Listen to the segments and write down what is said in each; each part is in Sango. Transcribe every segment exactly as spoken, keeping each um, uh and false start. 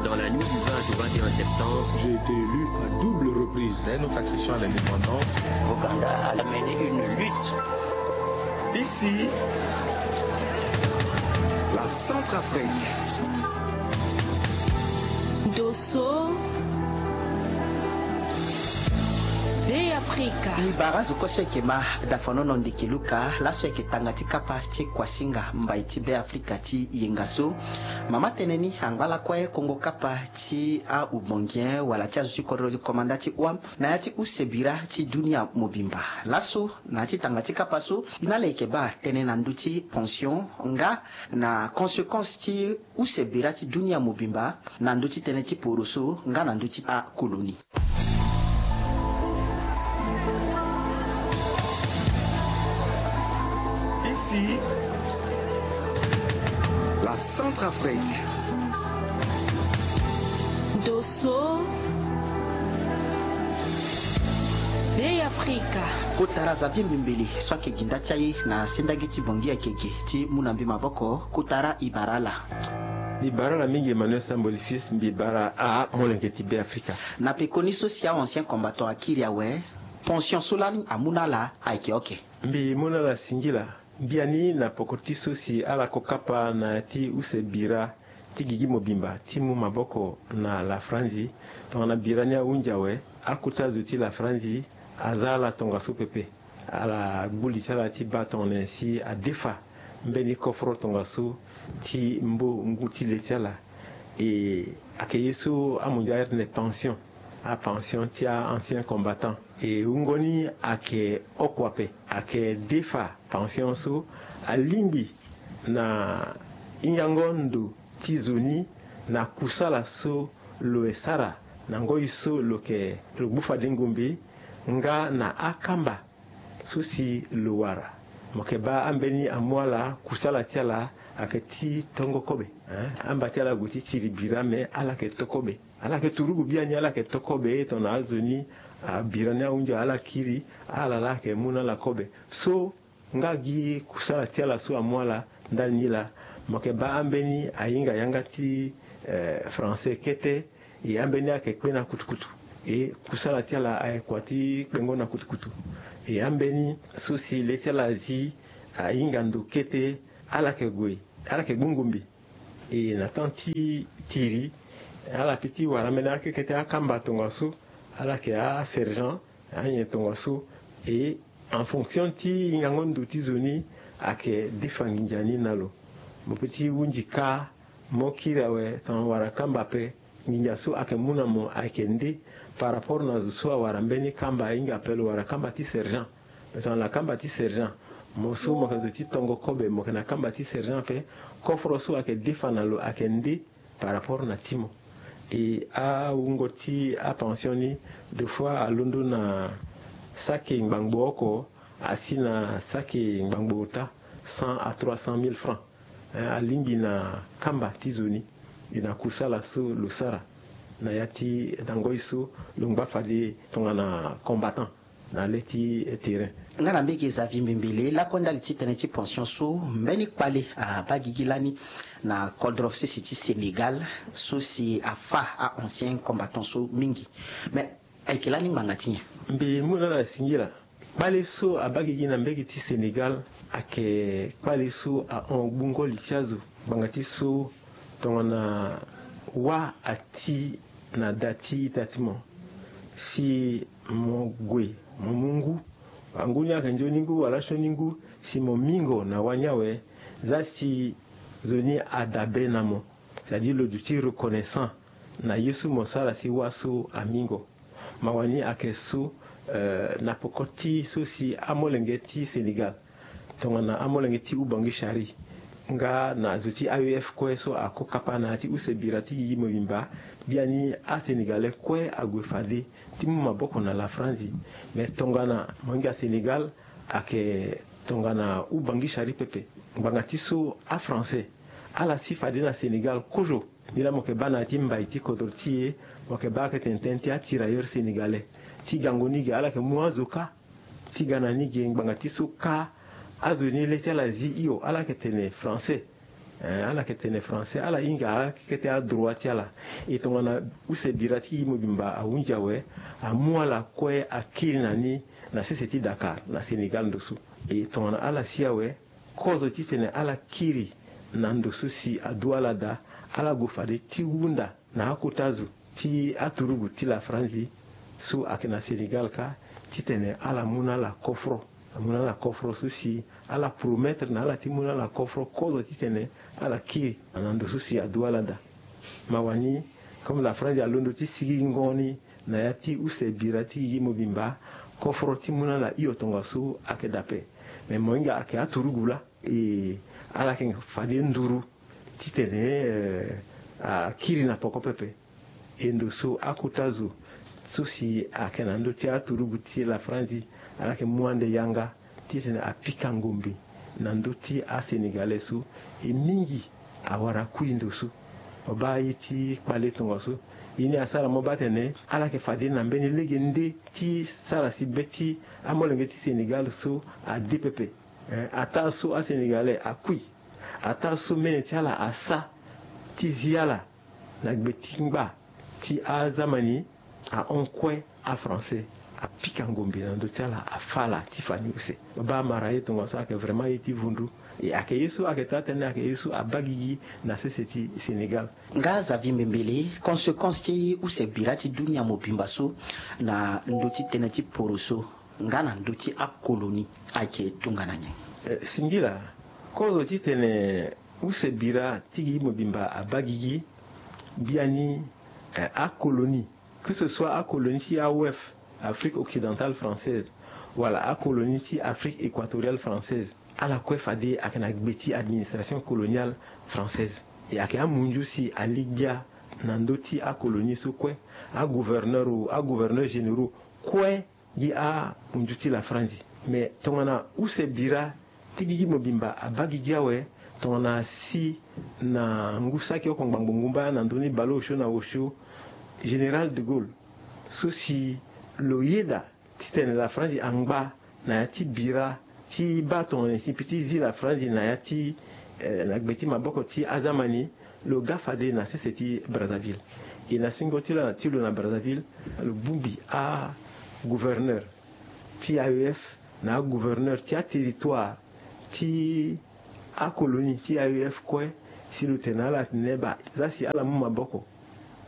Dans la nuit du vingt au vingt et un septembre, j'ai été élu à double reprise. Dès notre accession à l'indépendance, Ouganda a mené une lutte. Ici, la Centrafrique. Dosso, Be Afrika. I bara zo kue so eke ma dafanono ndeke luka laso eke tanga ti kapa ti Kwasinga mbai ti Be Afrika ti yenga so. Mama tene ni angba lakue kongo kapa ti aubongien wala ti azo ti kodro komanda ti wam na ya ti use bira ti dunia mobimba. Laso na ya ti tanga ti kapa so, i na ala eke baa tënë na ndö ti pension nga na conséquence ti use bira ti dunia mobimba na ndö ti tënë ti poroso nga na ndö ti akolonie. Ici, la Centrafrique. Dosso, Be Afrika. Kota ra Xavier Mbembele so ake gi nda ti aye na sendagi ti Bangui ake gi ti mu na mbi maboko. Kota ra i bara ala. Mbi bara ala mingi Emmanuel Samboli Fils, mbi bara amolenge ti Be Afrika. Na pekoni so si a ancien combattant akiri awe, pension so lani amu na ala ayeke oke? Mbi mu na ala singila. Biani na poko ti so si ala ko kapa na ya ti use bira ti gigi mobimba ti mu maboko na Lafranzi. Tongana bira ni ahunzi awe, akota zo ti Lafranzi aza ala tongaso pepe. Ala gbu li ti ala ti baa tongana nyen si adefa mbeni koforo tongaso ti mbo ngu ti le ti ala. E, ayeke ye so amunzu airi tene pension, apension ti a-ancien combattant. E, wungo ni ayeke oko ape. Ayeke defa pension so alingbi na hingango ndo ti zo ni na kusala so lo ye sara na ngoi so lo yeke, lo gbu fade ngombe nga na akamba so si lo wara. Mo yeke baa ambeni amu ala kusala ti ala ayeke ti tongo kobe, hein? Amba ti ala ague ti tiri bira me ala yeke to kobe. Ala yeke turugu biani, ala yeke to kobe tongana azo ni, ah, bira ni ahunzi ala kiri, ala laa ayeke mu na ala kobe. So nga gi kusala ti ala so amu ala ndali ni laa, mo yeke baa ambeni ahinga yanga ti, eh, français kete, e ambeni ayeke kpe na kutukutu. E kusala ti ala ayeke kua ti kpengo na kutukutu. E ambeni so si le ti ala azi ahinga ndo kete, ala yeke gue, ala yeke gbu ngombe. E na temps ti tiri, ala peut ti wara ambeni akekete akamba tongaso, ala yeke asergent, anyen tongaso. E en fonction ti hingango ndo ti zo ni, ayeke defa nginza ni na lo. Mo peut ti hunzi kâ, mo kiri awe tongana wara kamba ape, nginza so ayeke mu na mo ayeke nde par rapport na zo so awara mbeni kamba ahinga ape, lo wara kamba ti sergent. Me tongana kamba ti sergent, mo so mo yeke zo ti tongo kobe, mo yeke na kamba ti sergent ape, koforo so ayeke defa na lo ayeke nde par rapport na ti mo. E awungo ti apension ni, deux fois alondo na saki ngbangbo oko asi na saki ngbangbo ota, cent à trois cent mille francs. Eh, alingbi na kamba ti zo ni, e na kusala so lo sara na ya ti, na ngoi so lo ngba fade tongana combattant na le ti terrain. Nga na mbege Xavier Mbembele, lakue ndali ti tënë ti pension so, mbeni kpale abaa gigi lani na kodro sese ti Sénégal, so si afâ a-ancien combattant so mingi. Mais ayeke lani ngbanga ti nyen? Mbi mu na ala singila. Kpale so abaa gigi na mbege ti Sénégal ayeke kpale so ahon gbungo li ti azo. Ngbanga ti so tongana wâ ati na da ti ita ti mo, si mo gue mo mu ngu, angu ni ayeke nzoni ngu wala sioni ngu, si mo mingo na wâ ni awe, zia si zo ni adabe na mo, c'est-à-dire lo duti reconnaissant na ye so mo sara si wâ so amingo. Mawa ni ayeke so, eh, na poko ti so si amolenge ti Sénégal, tongana amolenge ti Oubangui Chari, nga na zo ti A E F kue so ako kapa na ya ti use bira ti gigi mobimba, biani aSénégalais kue ague fade ti mu maboko na Lafranzi. Me tongana mo hinga Sénégal, ayeke tongana Oubangui Chari pepe. Ngbanga ti so aFrançais ala si fade na Sénégal kozo. Nilaa mo yeke baa na ya ti mbai ti kodro ti e, mo yeke baa ayeke tene tënë ti atirailleurs sénégalais. Ti gango ni ge, ala yeke mu azo kâ. Ti ga na ni ge, ngbanga ti so kâ, azo ni le ti ala zi hio, ala yeke tene français. Ala yeke tene français, ala hinga akeke ti adroit ti ala. E tongana use bira ti gi mobimba ahunzi awe, amu ala kue akiri na ni na sese ti Dakar na Sénégal ndo so. E tongana ala si awe, kozo titene ala kiri na ndo so si adu ala daa, ala gue fade ti hunda na akota zo ti aturugu ti Lafranzi so ayeke na Sénégal kâ, titene ala mu na ala kofro. Amu na ala kofro so si ala promettre na ala ti mu na ala kofro kozo titene ala kiri na ndo so si adu ala daa. Mawa ni, comme Lafranzi alondo ti sigingo ni na ya ti use bira ti gi mobimba kofro ti mu na ala hio tongaso ayeke daa ape. Me mo hinga ayeke aturugu laa, e ala yeke fade nduru titene, eh, akiri na poko pepe. E ndo so akota zo so si ayeke na ndö ti aturugu ti Lafranzi, ala yeke mu ande yanga titene apika ngombe na ndö ti aSénégalais so. E mingi awara kui ndo so. Mo baa aye ti kpale tongaso. E ni asara mo baa atene ala yeke fade na mbeni lege nde ti sara si be ti amolenge ti Sénégal so ade pepe. Eh, ataa so aSénégalais akui, ataa so mene ti ala asa ti zi ala na gbe ti ngba ti azamani, ahon kue aFrançais, apika ngombe na ndö ti ala, afâ ala ti fa ni use. Baba amara ye tongaso ayeke vraiment ye ti vundu. E ayeke ye so ayeke taa tënë, ayeke ye so abaa gigi na sese ti Sénégal. Nga Xavier Mbembele, conséquence ti use bira ti dunia mobimba so na ndö ti tënë ti poroso nga na ndö ti akolonie ayeke tongana nyen? Eh, singila, kozo titene use bira ti gi mobimba abaa gigi, biani, eh, akolonie, que ce soit akolonie ti A O F, Afrique occidentale française, wala akolonie ti Afrique équatoriale française, ala kue fade ayeke na gbe ti administration coloniale française. E ayeke amunzu si ali gbia na ndö ti akolonie so kue, agouverneur o, agouverneur généraux kue gi amunzu ti Lafranzi. Me tongana use bira ti gigi mobimba abaa gigi awe, tongana si na ngu saki oko ngbangbo ngumba na ndoni baleosio na osio, Général de Gaulle so si lo yeda titene Lafranzi angba na ya ti bira ti baa tongana nyen si e peut ti zi Lafranzi na ya ti, eh, na gbe ti maboko ti azamani, lo ga fade na sese ti Brazzaville. E na singo ti lo na, ti lo na Brazzaville, lo bongbi agouverneur ti A E F na agouverneur ti aterritoire ti akolonie ti A E F kue, si lo tene na ala atene baa, zia si ala mu maboko,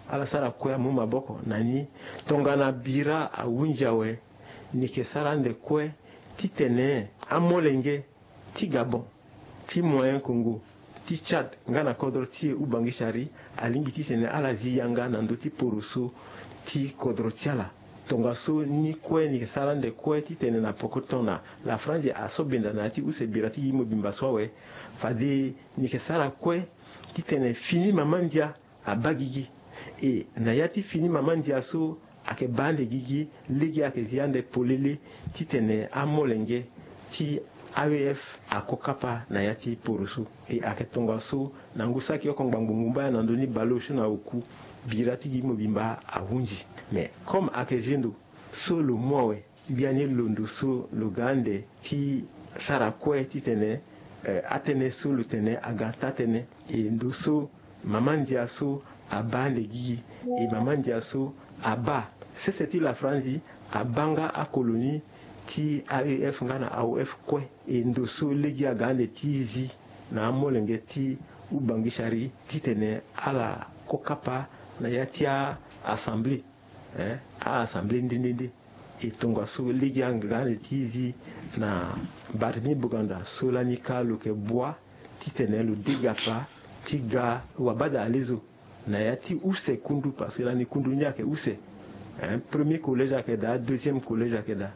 ala sara kue amu maboko na ni. Tongana bira ahunzi awe, ni yeke sara ande kue titene amolenge ti Gabon, ti Moyen Congo, ti Tchad nga na kodro ti e Ubangishari alingbi titene ala zi yanga na ndö ti poroso ti kodro ti ala. Tongaso ni kue ni yeke sara ande kue titene na poko ti tongana Lafranzi aso benda na ya ti use bira ti gi mobimba so awe, fade ni yeke sara kue titene fini mama ndia abaa gigi. E na ya ti fini mama ndia so ayeke baa ande gigi, lege ayeke zi ande polele titene amolenge ti A E F ako kapa na ya ti poroso. E ayeke tongaso na ngu saki oko ngbangbo ngumba na ndoni baleosio na oku, bira ti gi mobimba ahunzi. Me comme ayeke zendo so lo mu awe, biani londo so lo ga ande ti sara kue titene, eh, atënë so lo tene aga taa tënë. E ndo so mama ndia so abaa ande gigi, e mama ndia so abaa sese ti Lafranzi, abaa nga akolonie ti A E F nga na A O F kue. E ndo so lege aga ande ti zi na amolenge ti Ubangishari titene ala ko kapa na ya ti a-assemblée, eh, a-assemblée nde nde nde. E tongaso lege aga ande ti zi na Barthélemy Boganda so lani kâ lo yeke bua titene lo degapa ti ga wabada alezo na ya ti use kundu, parce que lani kundu ni ayeke use. Eh, premier collège ayeke daa, deuxième collège ayeke daa.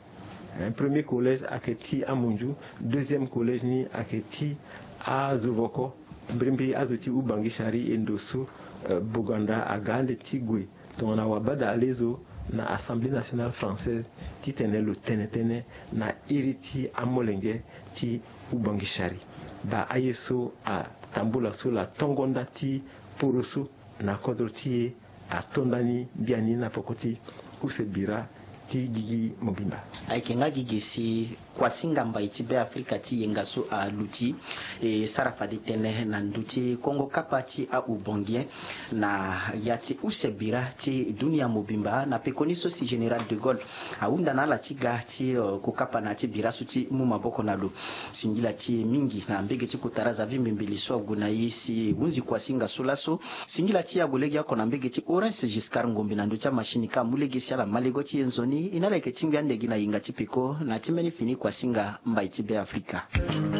Eh, premier collège ayeke ti amunzu, deuxième collège ni ayeke ti azovoko. Mbirimbiri azo ti Ubangishari, e ndo so, eh, Boganda aga ande ti gue tongana wabada alezo na Assemblée nationale française titene lo tene tënë na iri ti amolenge ti Ubangishari. Baa aye so atambula so, la tongo nda ti poroso na kodro ti e ato ndani biani na poko ti use bira ti gigi mobimba. Ayeke nga gigi si kuasinga mbai ti Beafrika ti yenga so aluti e sara fade tënë na ndö ti kongo kapa ti ahubangien na ya ti use bira ti dunia mobimba na pekoni so si général de Gaulle ahunda na ala ti ga ti kokapa na ya ti bira so ti mu maboko na lo. Singila ti e mingi na mbege ti kotara zavi mbimbili so ague na e si e hunzi kuasinga so laso. Singila ti e ague legeoko na mbege ti Horace Giscard Ngombe na ndö ti amachine ka amu lege si ala ma lego ti e nzoni. E na ala yeke tingbi ande gi na yinga ti peko na ya ti mbeni fini kuasinga mbai ti Beafrika.